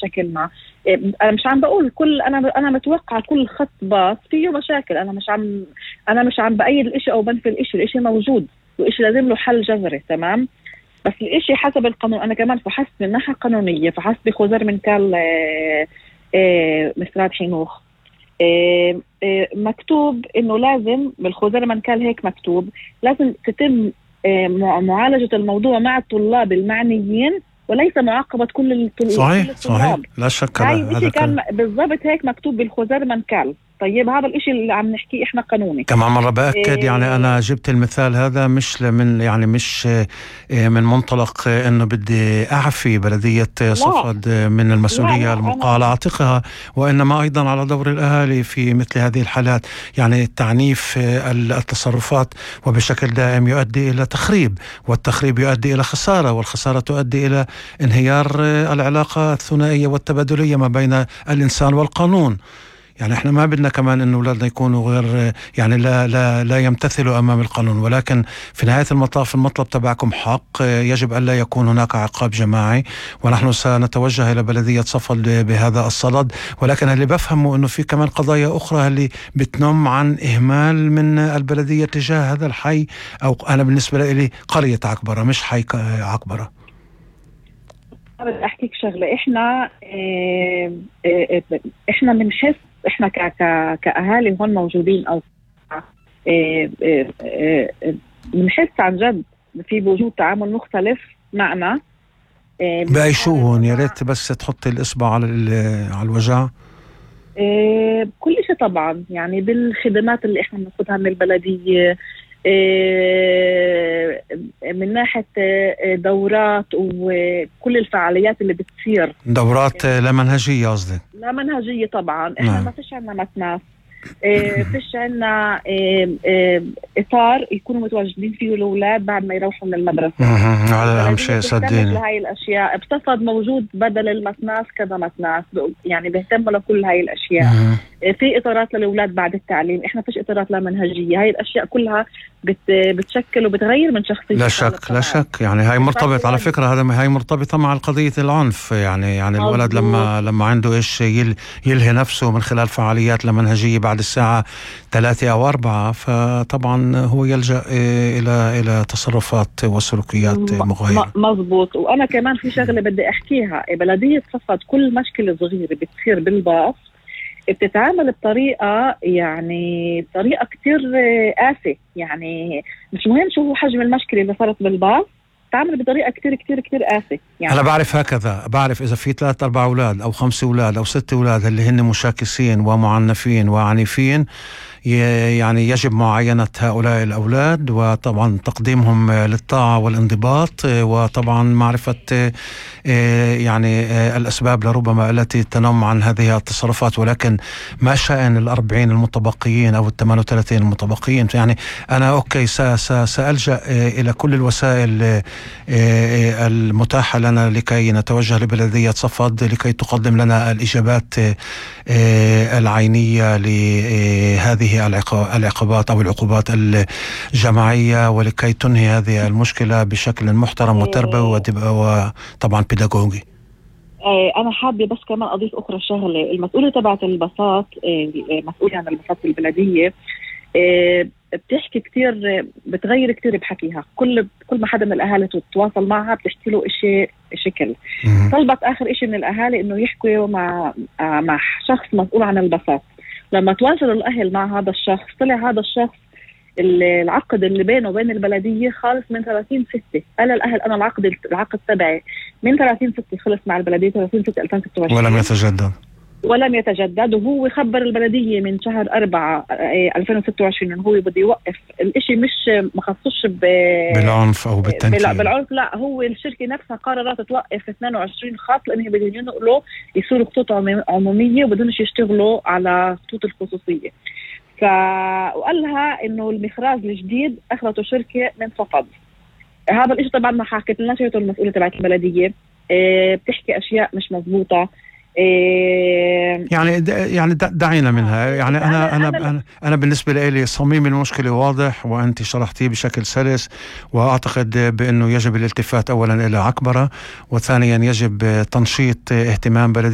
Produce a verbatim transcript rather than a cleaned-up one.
بشكل ما. انا مش عم بقول كل انا انا متوقع كل خط باص فيه مشاكل، انا مش عم انا مش عم بايد الاشي او بنفي الاشي، الاشي موجود والاشي لازم له حل جذري. تمام، بس الاشي حسب القانون. انا كمان فحصت من ناحية قانونية، فحصت بخزر من كال مستراد حينوخ، مكتوب انه لازم بالخزر من كال هيك مكتوب لازم تتم معالجة الموضوع مع الطلاب المعنيين وليس معاقبة كل الطلاب. صحيح صحيح، لا شك. هذا كان بالضبط هيك مكتوب بالخزر من كال. طيب هذا الاشي اللي عم نحكيه احنا قانوني. كمان مرة بأكد إيه يعني أنا جبت المثال هذا مش من يعني مش من منطلق إنه بدي أعفي بلدية صفد من المسؤولية الملقاة على عاتقها، وإنما أيضا على دور الأهالي في مثل هذه الحالات. يعني التعنيف التصرفات وبشكل دائم يؤدي إلى تخريب، والتخريب يؤدي إلى خسارة، والخسارة تؤدي إلى انهيار العلاقة الثنائية والتبادلية ما بين الإنسان والقانون. يعني احنا ما بدنا كمان انه اولادنا يكونوا غير يعني لا لا لا يمتثلوا امام القانون، ولكن في نهاية المطاف المطلب تبعكم حق، يجب ان لا يكون هناك عقاب جماعي، ونحن سنتوجه الى بلدية صفد بهذا الصدد. ولكن اللي بفهمه انه في كمان قضايا اخرى اللي بتنم عن اهمال من البلدية تجاه هذا الحي، او انا بالنسبة لي قرية عكبرة مش حي عكبرة. بدي احكيك شغلة، احنا اه اه احنا بنحس احنا ك ك كاهالي هون موجودين او بنحس عن جد في وجود تعامل مختلف معنا. بأي شو هون؟ يا ريت بس تحطي الاصبع على على الوجع. كل شيء طبعا، يعني بالخدمات اللي احنا بناخذها من البلديه، من ناحية دورات وكل الفعاليات اللي بتصير. دورات لا منهجية قصدي؟ لا منهجية طبعا. احنا ما فيش عنا متناس، فيش عنا إطار يكونوا متواجدين فيه الأولاد بعد ما يروحوا من المدرسة. هذا أهم شيء صدقيني. هاي الأشياء بتصفد موجود بدل المتناس كذا متناس، يعني بيهتموا لكل هاي الأشياء. في إطارات للأولاد بعد التعليم، إحنا فيش إطارات لا منهجية. هاي الأشياء كلها بت بتشكل وبتغير من شخصية. لا شك لا شك. يعني هاي مرتبط على فكرة، هذا هاي مرتبطة مع قضية العنف. يعني يعني مزبوط. الولد لما لما عنده إيش يل يلهي نفسه من خلال فعاليات لا منهجية بعد الساعة ثلاثة أو أربعة، فطبعا هو يلجأ إلى إلى تصرفات وسلوكيات مغايرة. مزبوط. وأنا كمان في شغلة بدي أحكيها، بلدية صفد كل مشكلة صغيرة بتصير بالباص بتتعامل بطريقة يعني بطريقة كتير قاسية. يعني مش مهم شو هو حجم المشكلة اللي صارت بالباص، تعمل بطريقة كتير كتير كتير قاسية. يعني أنا بعرف هكذا، بعرف إذا في ثلاث أربع أولاد أو خمس أولاد أو ست أولاد اللي هن مشاكسين ومعنفين وعنيفين، يعني يجب معاينة هؤلاء الأولاد وطبعا تقديمهم للطاعة والانضباط، وطبعا معرفة يعني الأسباب لربما التي تنم عن هذه التصرفات. ولكن ما شأن الأربعين المتبقيين أو الثمان وثلاثين المتبقيين؟ يعني أنا أوكي سألجأ إلى كل الوسائل المتاحة لنا لكي نتوجه لبلدية صفد لكي تقدم لنا الإجابات العينية لهذه العقوبات أو العقوبات الجماعية، ولكي تنهي هذه المشكلة بشكل محترم وتربوي وطبعا بيداغوجي. أنا حابة بس كمان أضيف أخرى شغلة. المسؤولة تبعت البساط، مسؤولة عن البساط في البلدية، بتحكي كتير، بتغير كتير بحكيها. كل كل ما حدا من الأهالي تتواصل معها بتحكي له إشي شكل. طلبت آخر إشي من الأهالي إنه يحكوا مع مع شخص مسؤول عن البساط. لما تواصلوا الأهل مع هذا الشخص، طلع هذا الشخص العقد اللي بينه وبين البلدية خالص من ثلاثين ستة. قال الأهل أنا العقد العقد تبعي من ثلاثين ستة خلص مع البلدية، ثلاثين ستة ألفين وستة وعشرين، ولم يتجدد ولم يتجدد. وهو خبر البلدية من شهر أربعة ألفين وستة وعشرين إنه هو بده يوقف الإشي، مش مخصوش بالعنف أو بالتنكيل بالعنف، لا، هو الشركة نفسها قررت توقف اثنين وعشرين خط لأنه بدهم ينقلوا يصيروا خطوط عمومية وبدونش يشتغلوا على خطوط الخصوصية. ف وقال لها إنه المخراج الجديد أخذته شركة من صفد. هذا الإشي طبعا ما حكت لنا شيء. المسؤولة تبعت البلدية اه بتحكي أشياء مش مزبوطة. يعني يعني دعينا منها. يعني أنا أنا أنا, أنا بالنسبة لي صميم المشكلة واضح، وأنت شرحتيه بشكل سلس، وأعتقد بأنه يجب الالتفات أولا إلى عكبرة، وثانيا يجب تنشيط اهتمام بلدية